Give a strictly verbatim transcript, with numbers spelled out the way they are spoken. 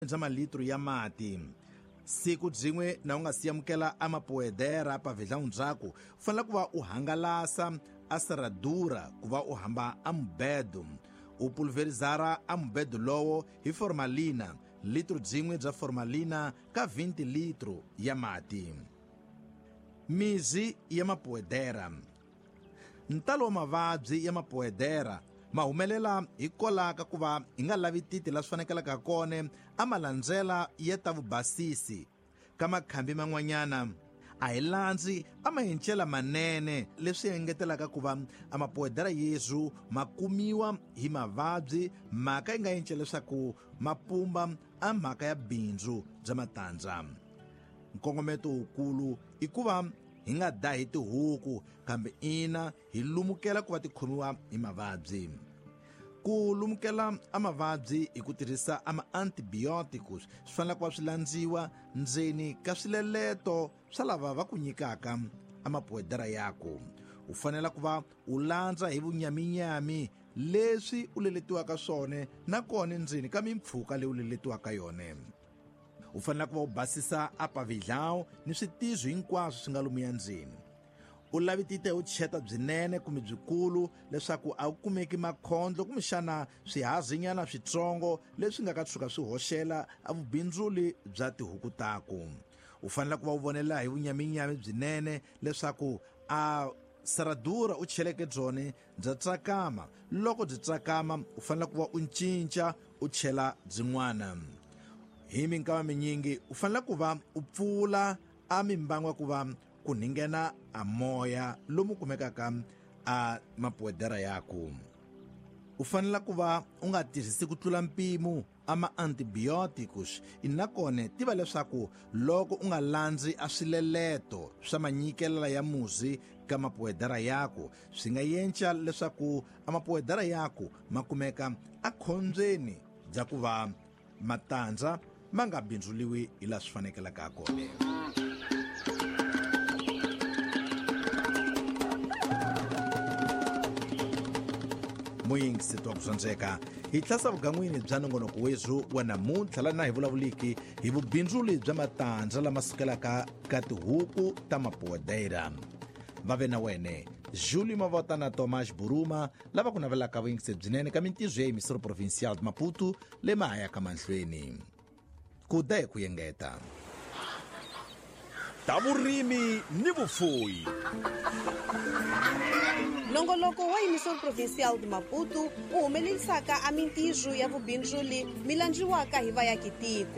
bya malitru ya mati. Siku byin'we na u nga si amukela a mapoedera pavilhão ndzhaku, u fanele ku va u hangalasa a serradura ku va u hamba a mubedo. U pulverizara a mubedo lowo hi formalina, litro byin'we bya formalina ka twenty litro ya mati. Mizi ya mapoedera. Ntalo wa mavabyi ya mapoedera ma humelela hikwalaho ka ku va hi nga lavi titi la swi fanekelaka kona a malandzela ya ta vubasisi. Ka makhambi man'wanyana a hi landzi a mahencela manene, leswi engetelaka ku va a mapoedera yesu ma kumiwa hi mavabyi, mhaka yi nga encela leswaku ma pumba a mhaka ya bindzu bya matandza. Nkongometo wukulu i ku va hi nga dahi tihuku, kambe ina hi lumukela ku va ti khomiwa hi mavabyi. Ku lumukela a mavabyi hi ku tirhisa a ma-antibiotics swi fanele ku va swi landziwa ndzeni ka swileleto swa lava va ku nyikaka a mapoedera yaku. U fanele ku va u landza hi vunyaminyami leswi u leletiwaka swona, nakona ndzeni ka mimpfhuka leyi u leletiwaka yona. U fanele ku va u basisa a pavilhão ni switizo hinkwaswo swi nga lomuya ndzeni. U lavitite u cheta byinene kumbe byikulu leswaku a wu kumeki makhondlo kumbexana swihazinyana switsongo leswi nga ka tshuka swi hoxela a vubindzuli bya tihuku taku. U fanele ku va u vonela hi vunyaminyami byinene leswaku a serradura u cheleke byone bya tsakama. Loko byi tsakama u fanele ku va u cinca u chela byin'wana. Hi minkama minyingi u fanele ku va u pfula a mimbangu ku va ku ninghena a moya lomu kumekaka a mapoedera yaku. U fanele ku va u nga tirhisi ku tlula mpimo a ma-antibiotics, nakona tiva leswaku loko u nga landzi a swileleto swa manyikelela ya muzi ka mapoedera yaku, swi nga yenca leswaku a mapoedera yaku ma kumeka a khombyeni bya ku va matandza ma nga bindzuliwi hi laha swi fanekelaka kona. Muyingisi wa ku dyondzeka, hi tlhasa vugan'wini bya nongonoko wethu wa namuntlha lana hi vulavuliki hi vubindzuli bya matandza lama sukelaka ka tihuku ta mapoedera. Va ve na wene Júlio Mavota na Tomás Buruma lava ku navelaka vuyingisi byinene ka mintirho ya Emissora Provincial de Maputo le mahaya ka manhlweni. Ku da hi ku yengeta. Ta vurimi ni vufuwi. Nongoloko wa Emissora Provincial de Maputo wu humelerisaka a mintirho ya vubindzuli mi landziwaka hi vayakitiko.